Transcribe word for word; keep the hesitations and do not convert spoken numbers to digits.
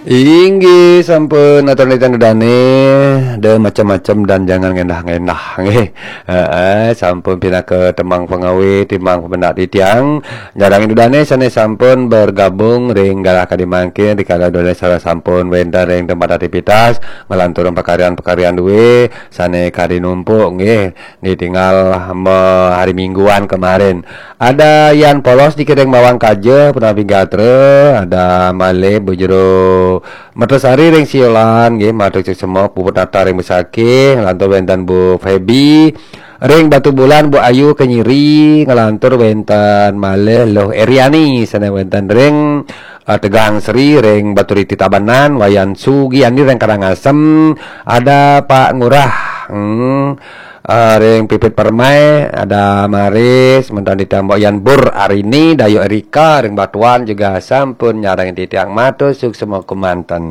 Inggih sampun atur nitih dane, de macam-macam dan jangan ngendah-ngendah nggih. Heeh, sampun pinaka temang pengawe timbang pemendak titiang. Nyarengin dane sane sampun bergabung ring galah kadi mangkin rikala dane sampun wenten ring tempat aktivitas, ngelanturang pakaryan-pakaryan due sane kadi numpuk nggih. Ditinggal me-, hari Mingguan kemarin. Ada Yan Polos dikiring bawang kaja, punapi gatra, ada malih Bu Jero Mertasari ring Siolan nggih, matur suksma, Puput Nata ring Besakih, ngelantur wenten Bu Feby ring Batubulan, Bu Ayu Kenyiri, ngelantur wenten malih Luh Eriani sane wenten ring eh, Tegang Sri ring Baturiti Tabanan, Wayan Sugiani ring Karangasem, ada Pak Ngurah, hmm, eh, ring Pipit Permai, ada Maris, menten ditambah Yan Bur Arini, Dayu Erika ring Batuan juga sampun nyarengin titiang, matur suksma kemanten.